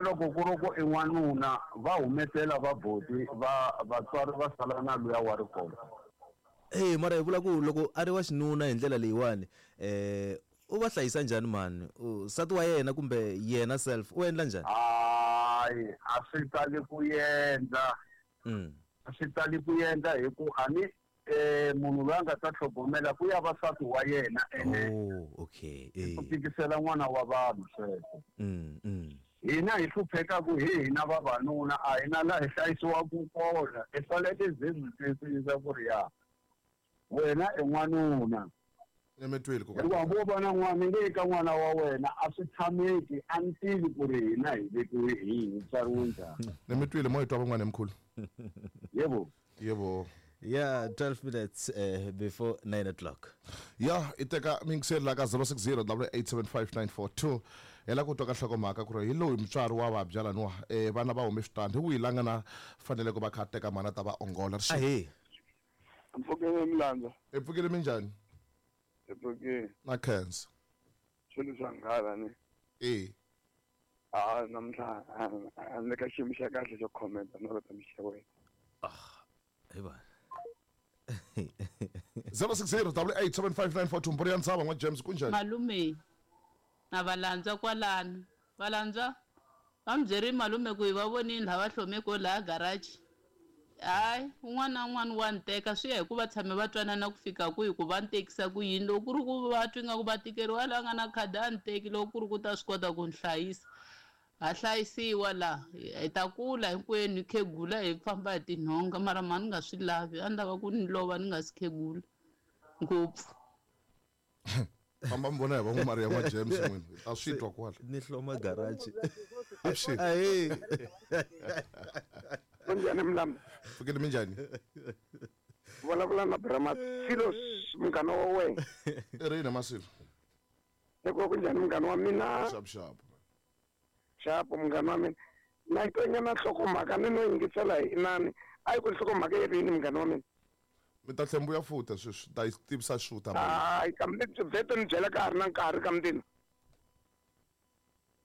Loko ku ri ku i n'wanuna va humesela va boti va vatswari va sala na luya wa rikotse. Eya mara hi vula ku loko a ri wa xinuna hi ndlela leyiwani u va hlayisa njhani mhani? Nsati wa yena kumbe yena self u endla njhani? Hayi a swi tali ku endla. A swi tali ku endla hi ku a ni munhu loyi a nga ta tlhogomela ku ya va nsati wa yena ene Oh, okay i ku eh. tikisela n'wana wa vanhu sweswo. Hina hi hluphekaku hi hina vavanuna a hi na laha hi hlayisiwaku kona hi fanele ze hi twisisa ku ri ya wena i n'wanuna. Emetweni ku Hikuva hambi wo va na n'wana nge ka n'wana wa wena a swi tshameki a ni tivi ku ri hina hi vekiwe hi hi tswariwe njhani. Ni mi twile mo hi twa van'wana mkhulu. Yebo. Yebo. Yeah, 12 minutes before 9 o'clock. Ya, i teka mingiseri la ka 060 8875942 hi la ku twa ka nhlokomhaka ku ri hi loyi mutswari wa vabya laniwa vana va hume switandi hi wihi la nga na fanele ku va kha a teka mhana ta va ongola ri Ahee. Mpfukeni Mlandza. Hi pfukile minjhani? Hi pfukile. Na khensa. Swilo swa nghala ni. E. A namuntlha a ni le ka xiyimo xa kahle xo comment-a no ta mi xeweta. Ah, hi va. 060 8875942 Mburi ya Ntshava n'wa James kunjhani? Malume na valandzwa kwalano valandzwa va mi byerile malume ku hi va vonile laha va hlome ko laha garage hayi un'wana na un'wana wa ni teka swi ya hi ku va tshame va twanana ku fika kwihi ku va ni tekisa ku yini loko ku ri ku va twi nga ku va tikeriwa la nga na khadi a ni teki loko ku ri ku ta swi kota ku ni hlayisa ha hlayisiwa la hi ta kula hinkwenu hi khegula hi famba hi tinhonga mara mhani ni nga swi lavi a ni lava ku ni lova ni nga si khegula ngopfu. Famba mi vona hi van'wamari ya n'wa James n'wina hi ta swi twa kwala. Ni hloma garage. Avuxeni. Ahee. Kunjhani Mlambo? Pfukile minjhani? Vulavula na Bra Masilos munghana wa wena. I rini Masilo? Loko kunjhani munghana wa mina? Xapu xapu. Xapu munghana wa mina. Na yi twa nhlokomhaka ni no yingisela hi inani. A yi ku nhlokomhaka yi ri yini munghana wa mina? Mi ta tlhela mi vuya futa sweswi ta yi tivisa xuta. Hayi kambe vhete ni byela ka ha ri na nkarhi ka mundini.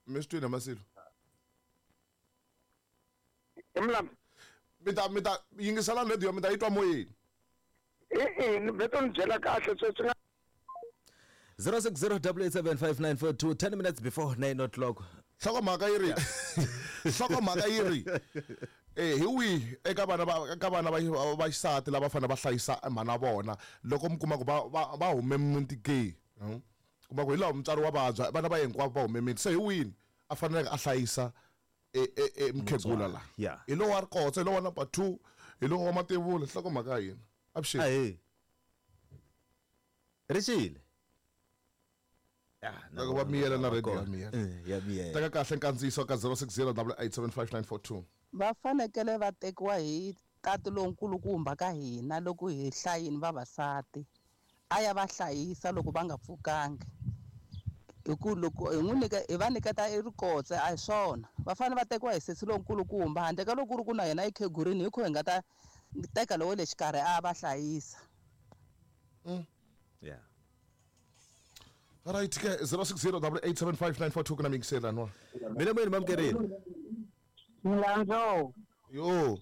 Mi swi twile Masilo? Hi Mlambo. Mi ta mi ta yingisela radio mi ta yi twa moyeni. E-e ni vhete ni byela kahle sweswi nga 0608875942 10 minutes before 9 o'clock. Nhlokomhaka yi ri nhlokomhaka yi ri eh hi wihi eka vana va ka vana va va xisati lava fanele va hlayisa mhana vona loko mi kuma ku va va va hume muti ke kuma ku hi laha mutswari wa vabya vana va hinkwavo va hume miti se hi wini a faneleke a hlayisa e mukhegula la Yeah. hi lowa wa rikotsa hi lowa number 2 hi lowa wa mativula nhlokomhaka ya hina avuxeni Ahee. Rixile. Ah, Loko va miyela na radio ya miyela. Ya miyela. Teka kahle nkandziyiso ka 0608875942. Va fanekele va tekiwa hi tati lonkulukumba ka hina loko hi hlayini vavasati a ya va hlayisa loko va nga pfukangi hi ku loko hi n'wi nyika hi va nyiketa i rikotse a hi swona va fanele va tekiwa hi sesi lonkulukumba handle ka loko ku ri ku na yena i khegurini hi kho hi nga ta teka lowo le xikarhi a va hlayisa. Yeah. Right ke 0608875942 kuna mingisela nwa. Mina moyeni mamkerile. Milandzo. Yo.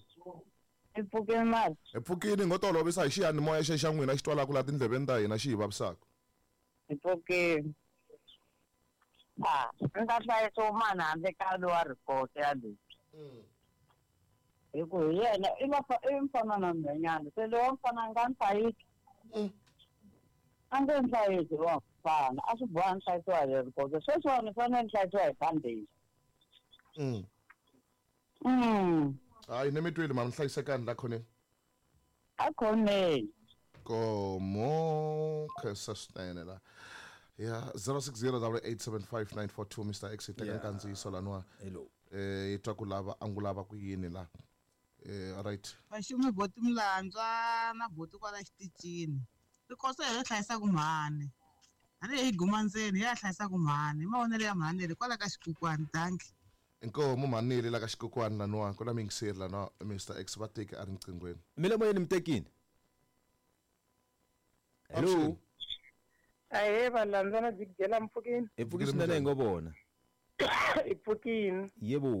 Hi pfukile mali. Hi pfukile ngo tolovisa hi xiyanimoya xe xa n'wina xi twalaka la tindleveni ta hina xi hi vavisaka. Hi pfukile. Ah, ni ta hlayisa mani handle ka lowa rikotse ya leyi. Hi ku hi yena i va i mfana na nhwanyana se lowa mfana a nga ni hlayisi. A nge ni hlayisi lowa mfana a swi boha ni hlayisiwa hi rikotse sweswiwani ni fanele ni hlayisiwa hi bandage. Hayi ni mi twile mama hlayisekani la khoneni. A khoneni. Komo khensa swinene la. Ya 0608875942 Mr X teka nkandziyiso laniwa. Hello. Yi twa ku lava angulava ku yini la. Right. Vaxumi boti Mlandzwa na boti kwala xitichini. Rikotse hi ri hlayisaka mhani. Tanihi hi guma ndzeni hi ya hlayisaka mhani. Hi mavonelo ya mhani leri kwala ka xikukwani danki. Inkomu mhani la ka xikukwani laniwa ku na mingiseri laniwa Mr X va teki a ri nqinghweni. Mina moyeni mi tekini. Hello. Ahee valandzwa na Big Jela mpfukini. Hi pfuki swinene hi ngo vona. I pfukini. Yebo.